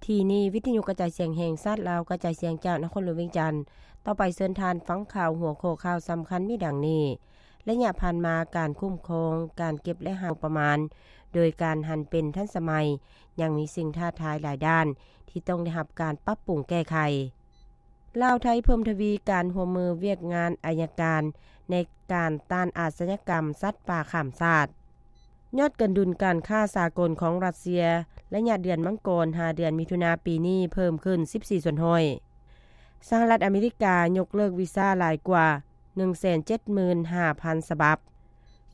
ທີ່ນີ້ ວິທະຍຸກະຈາຍສຽງແຫ່ງຊາດລາວ ກະຈາຍສຽງຈາກນະຄອນຫຼວງວຽງຈັນ. ຕໍ່ໄປເຊີນທ່ານຟັງຂ່າວ ຫົວຂໍ້ຂ່າວສຳຄັນມີດັ່ງນີ້: ໄລຍະຜ່ານມາ ການຄຸ້ມຄອງ, ການເກັບ ແລະ ຫາງົບປະມານ ໂດຍການຫັນເປັນທັນສະໄໝ ຍັງມີສິ່ງທ້າທາຍຫຼາຍດ້ານ ທີ່ຕ້ອງໄດ້ຮັບການປັບປຸງແກ້ໄຂ. ລາວໄທເພີ່ມທະວີການຮ່ວມມືວຽກງານໄອຍະການ ໃນການຕ້ານອາຊະຍາກຳສັດປ່າຂ້າມຊາດ. ຍອດການດຸນການຄ້າສາກົນຂອງຣັດເຊຍ ໄລຍະເດືອນມັງກອນຫາເດືອນມິຖຸນາປີນີ້ເພີ່ມຂຶ້ນສິບສີ່ສ່ວນຮ້ອຍ. ສະຫະລັດອາເມລິກາຍົກເລີກວີຊາຫຼາຍກວ່າໜຶ່ງແສນເຈັດໝື່ນຫ້າພັນສະບັບ.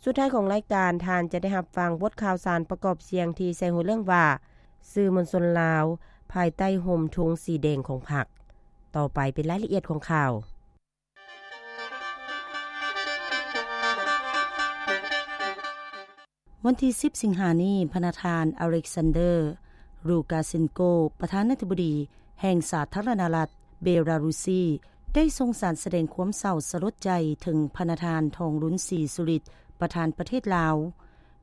ສຸດທ້າຍຂອງລາຍການ, ທ່ານຈະໄດ້ຮັບຟັງບົດຂ່າວສານປະກອບສຽງທີ່ໃສ່ຫົວເລື່ອງວ່າ ສື່ມວນຊົນລາວ ພາຍໃຕ້ຮົ່ມທຸງສີແດງຂອງພັກ. ຕໍ່ໄປເປັນລາຍລະອຽດຂອງຂ່າວ. ວັນທີສິບ ສິງຫານີ້, ພະນະທ່ານ ອາເລັກຊານເດີ ລູກາເຊັນໂກ ປະທານາທິບໍດີແຫ່ງສາທາລະນະລັດເບລາຣຸຊີ ໄດ້ສົ່ງສານສະແດງຄວາມເສົ້າສະຫຼົດໃຈເຖິງພະນະທ່ານ ທອງລຸນ ສີສຸລິດ ປະທານປະເທດລາວ.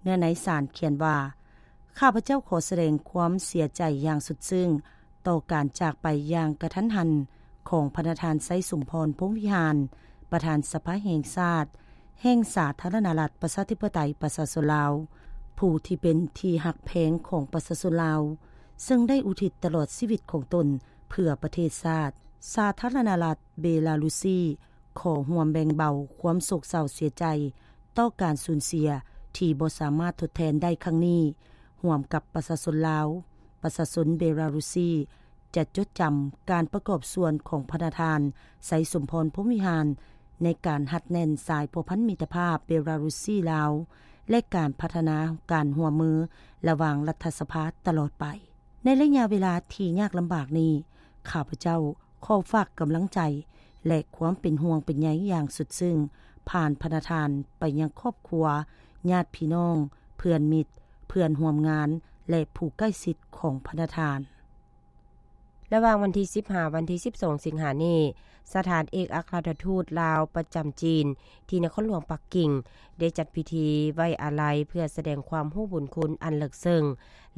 ເນື້ອໃນສານຂຽນວ່າ, ຂ້າພະເຈົ້າຂໍສະແດງຄວາມເສຍໃຈຢ່າງສຸດຊຶ້ງຕໍ່ການຈາກໄປຢ່າງກະທັນຫັນຂອງພະນະທ່ານ ໄຊສົມພອນ ພົມວິຫານ ປະທານສະພາແຫ່ງຊາດ ແຫ່ງສາທາລະນະລັດ ປະຊາທິປະໄຕ ປະຊາຊົນລາວ, ຜູ້ທີ່ເປັນທີ່ຮັກແພງຂອງປະຊາຊົນລາວ, ເຊິ່ງໄດ້ອຸທິດຕະຫຼອດຊີວິດຂອງຕົນເພື່ອປະເທດຊາດ. ສາທາລະນະລັດເບລາຣຸຊີ ຂໍຮ່ວມແບ່ງເບົາຄວາມໂສກເສົ້າເສຍໃຈຕໍ່ການສູນເສຍທີ່ບໍ່ສາມາດທົດແທນໄດ້ຄັ້ງນີ້ ຮ່ວມກັບປະຊາຊົນລາວ. ປະຊາຊົນເບລາຣຸຊີຈະຈົດຈຳການປະກອບສ່ວນຂອງພະນະທ່ານ ໄຊສົມພອນ ພົມວິຫານ ໃນການຮັດແໜ້ນສາຍພົວພັນມິດຕະພາບເບລາຣຸຊີ-ລາວ ແລະ ການພັດທະນາການຮ່ວມມືລະຫວ່າງລັດຖະສະພາຕະຫຼອດໄປ. ໃນໄລຍະເວລາທີ່ຍາກລຳບາກນີ້, ຂ້າພະເຈົ້າ ຂໍຝາກກຳລັງໃຈ ແລະ ຄວາມເປັນຫ່ວງເປັນໃຍຢ່າງສຸດຊຶ້ງ ຜ່ານພະນະທ່ານໄປຍັງຄອບຄົວ, ຍາດພີ່ນ້ອງ, ເພື່ອນມິດ, ເພື່ອນຮ່ວມງານ ແລະ ຜູ້ໃກ້ຊິດຂອງພະນະທ່ານ. ລະຫວ່າງວັນທີສິບຫາວັນທີສິບສອງ ສິງຫານີ້, ສະຖານເອກອັກຄະລັດທູດລາວປະຈຳຈີນ ທີ່ນະຄອນຫຼວງປັກກິ່ງ ໄດ້ຈັດພິທີໄວ້ອາໄລ ເພື່ອສະແດງຄວາມຮູ້ບຸນຄຸນອັນເລິກເຊິ່ງ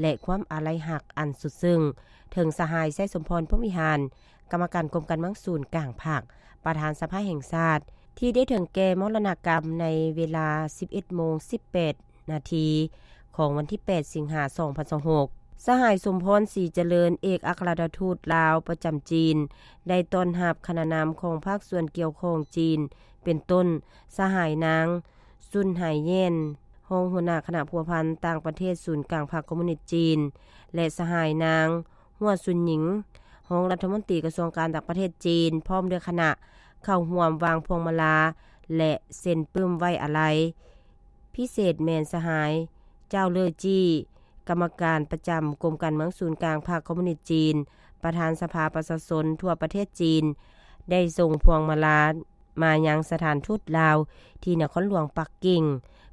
ແລະ ຄວາມອາໄລຮັກອັນສຸດຊຶ້ງ ເຖິງສະຫາຍ ໄຊສົມພອນ ພົມວິຫານ ກຳມະການກົມການເມືອງສູນກາງພັກ, ປະທານສະພາແຫ່ງຊາດ ທີ່ໄດ້ເຖິງແກ່ມໍລະນະກຳໃນເວລາສິບເອັດໂມງສິບແປດນາທີ ຂອງວັນທີແປດ ສິງຫາ ສອງພັນຊາວຫົກ. ສະຫາຍ ສົມພອນ ສີຈະເລີນ ເອກອັກຄະລັດທູດລາວປະຈຳຈີນ ໄດ້ຕ້ອນຮັບຄະນະນຳຂອງພາກສ່ວນກ່ຽວຂ້ອງຈີນ ເປັນຕົ້ນ ສະຫາຍນາງ ຊຸນ ໄຫແຢນ ຮອງຫົວໜ້າຄະນະພົວພັນຕ່າງປະເທດສູນກາງພັກຄອມມູນິດຈີນ ແລະ ສະຫາຍນາງ ຫົວ ຊຸນ ຍິງ ຮອງລັດຖະມົນຕີກະຊວງການຕ່າງປະເທດຈີນ ພ້ອມດ້ວຍຄະນະ ເຂົ້າຮ່ວມວາງພວງມາລາ ແລະ ເຊັນປຶ້ມໄວ້ອາໄລ. ພິເສດແມ່ນສະຫາຍ ເຈົ້າ ເລີ ຈີ້ ກຳມະການປະຈຳກົມການເມືອງສູນກາງພັກຄອມມູນິດຈີນ, ປະທານສະພາປະຊາຊົນທົ່ວປະເທດຈີນ ໄດ້ສົ່ງພວງມາລາ ມາຍັງສະຖານທູດລາວທີ່ນະຄອນຫຼວງປັກກິ່ງ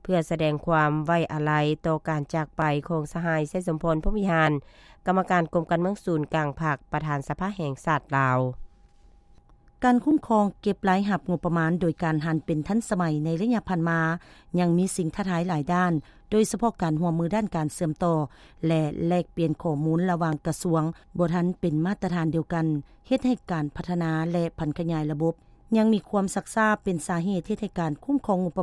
ເພື່ອສະແດງຄວາມໄວ້ອາໄລຕໍ່ການຈາກໄປຂອງສະຫາຍ ໄຊສົມພອນ ພົມວິຫານ ກຳມະການກົມການເມືອງສູນກາງພັກ ປະທານສະພາແຫ່ງຊາດລາວ. ການຄຸ້ມຄອງເກັບລາຍຮັບງົບປະມານໂດຍການຫັນເປັນທັນສະໄໝໃນໄລຍະຜ່ານມາ ຍັງມີສິ່ງທ້າທາຍຫຼາຍດ້ານ, ໂດຍສະເພາະການຮ່ວມມືດ້ານການເຊື່ອມຕໍ່ ແລະ ແລກປ່ຽນຂໍ້ມູນລະຫວ່າງກະຊວງບໍ່ທັນເປັນມາດຕະຖານດຽວກັນ, ເຮັດໃຫ້ການພັດທະນາ ແລະ ຜັນຂະຫຍາຍລະບົບຍັງມີຄວາມຊັກຊ້າ ເປັນສາເຫດເຮັດໃຫ້ການຄຸ້ມຄອງງົບປະມານ